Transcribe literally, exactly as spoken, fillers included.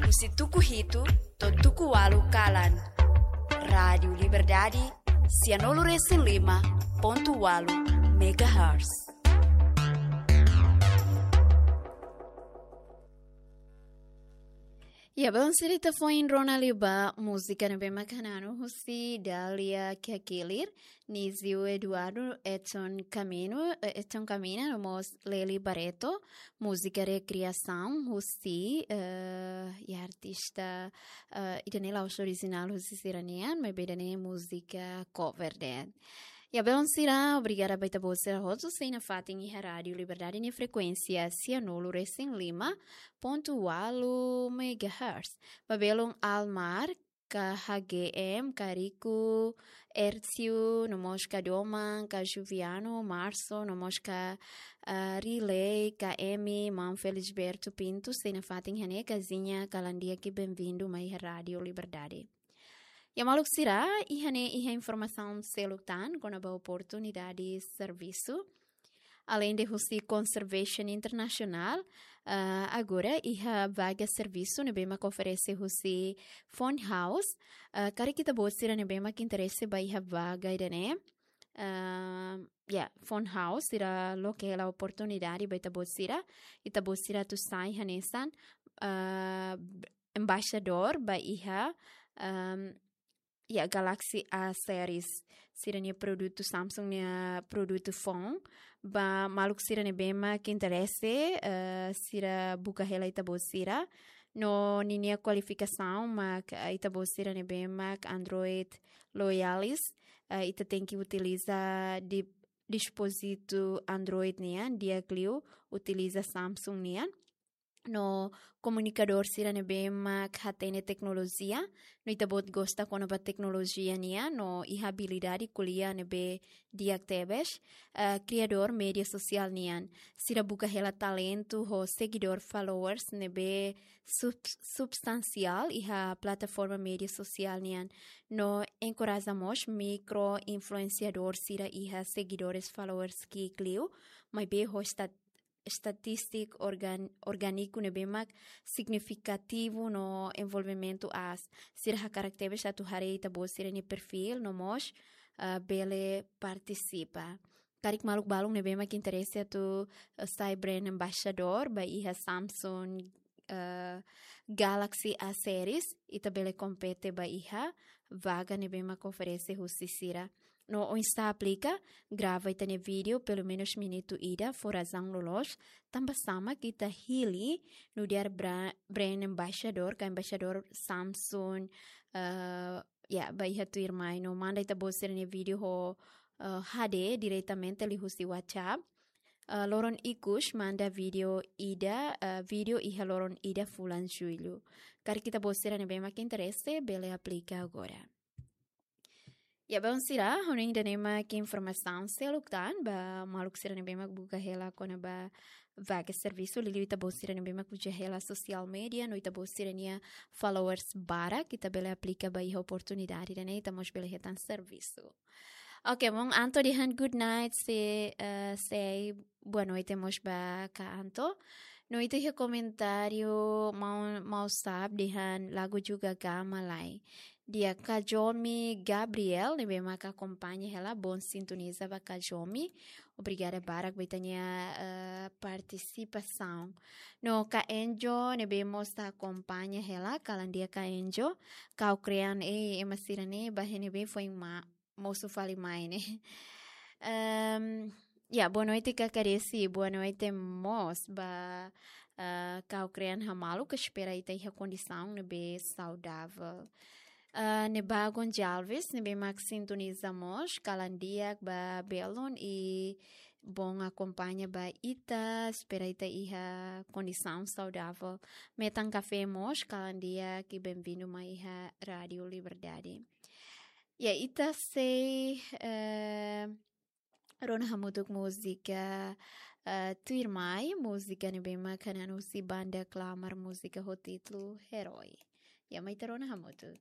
husi tuku hitu to'o tuku ualu kalan. Rádiu Liberdade, sianulu resin lima pontu ualu megahertz. Ya, belun sira, ita foin rona liu ba múzika ne'ebé mak hananu husi Dália Kiakilir, Nizio Eduardo, Edson Camino, eh, Edson Camina, no mós Lely Barreto, múzika rekriasaun husi, eh, ya artista, eh, ida-ne'e la'ós orijinál husi sira-nian, maibé ida-ne'e múzika cover de'it. Ya, belun sira, obrigada ba ita-boot sira hotu sei nafatin iha Rádiu Liberdade nia frekuénsia sianulu resin lima pontu ualu megahertz. Ba belun Almar, K H G M, Kariku, Ercio, no mós K Doman, K Juviano, Marso, no mós K, ah, Riley, K M, Maun Felisberto Pinto, sei nafatin iha ne'e kaziña, kalan di'ak i benvindu mai iha Rádiu Liberdade. Ya maluk sira, iha ne'e iha informasaun seluk tan kona-ba oportunidade servisu. Aleinde husi Conservation International, ah, agora iha vaga servisu ne'ebé mak oferese husi Fund House. Ah, karik ita-boot sira ne'ebé mak interese ba iha vaga ida-ne'e. Ah, ya, Fund House sira loke hela oportunidade ba ita-boot sira. Ita-boot sira atu sai hanesan, ah, embaixadór ba iha, ah, ya, Galaxy A series, sira-nia produtu, Samsung nia produtu phone. Ba maluk sira ne'ebé mak interese, eh, sira buka hela ita-boot sira. No ninia kualifikasaun mak, eh, ita-boot sira ne'ebé mak Android loyalis, eh, ita tenke utiliza di-, dispozitu Android nian, di'ak liu utiliza Samsung nian. No komunikadór sira ne'ebé mak hatene teknolojia, no ita-boot gosta kona-ba teknolojia nian, no iha abilidade ko'alia ne'ebé di'ak tebes, eh, kriadór média sosiál nian. Sira buka hela talentu ho segidór, followers ne'ebé sub-, substansiál iha plataforma média sosiál nian. No enkoraja mós mikro influensiadór sira iha segidores, followers ki'ik liu, maibé ho esta-, estatístika organ-, orgániku ne'ebé mak signifikativu no envolvimentu aas. Sira hakarak tebes atu haree ita-boot sira-nia perfíl no mós, ah, bele partisipa. Karik maluk balun ne'ebé mak interese atu, eh, sai brand ambassador ba iha Samsung, eh, Galaxy A series, ita bele kompete ba iha vaga ne'ebé mak oferese husi sira. No oinsá aplika, grava ita-nia vídeo, pelumenus minutu ida, fó razaun loloos, tanba sá mak ita hili nu'udar bra-, brand ambassador, ka embaixadór Samsung, eh, ya, ba iha tuirmai. No manda ita-boot sira-nia vídeo ho, eh, H D diretamente liuhusi WhatsApp. Eh, loron ikus manda vídeo ida, eh, vídeo iha loron ida fulan Jullu. Karik ita-boot sira ne'ebé mak interese, bele aplika agora. Ya, belun sira, ha'u hanoin ida-ne'e mak informasaun seluk tan ba maluk sira ne'ebé mak buka hela kona-ba vaga servisu, liuliu ita-boot sira ne'ebé mak uza hela sosiál média, no ita-boot sira-nia followers barak, ita bele aplika ba iha oportunidade ida-ne'e, ita mós bele hetan servisu. Oke, maun Anto dehan good night, se, eh, sei boa noite mós ba Ka Anto. No ita iha komentáriu maun, maun Sab dehan lagu juga gama lai. Di'ak, Kajomi Gabriel, ne'ebé mak akompaña hela, bom sintoniza ba Kajomi. Obrigada barak ba ita-nia, eh, partisipasaun. No Ka Enjo, ne'ebé mós ita akompaña hela, kalan di'ak Ka Enjo. Kau Krean, eh, ema sira-ne'e, ba iha ne'ebé foin ma-, mosu fali mai ne'e. Em, ya, boa noite, Kaka Desi, boa noite mós ba, ah, Kau Krean hamaluk, espera ita iha kondisaun ne'ebé saudável. Ah, Neba Gonçalves, ne'ebé mak sintoniza mós, kalan di'ak ba belun i bom akompaña ba ita, espera ita iha kondisaun saudável. Metan Café mós, kalan di'ak i benvindu mai iha Rádiu Liberdade. Ya, ita sei, eh, rona hamutuk múzika, eh, tuirmai, múzika ne'ebé mak hananu husi banda Klamar, múzika ho títulu Herói. Ya, mai ita rona hamutuk.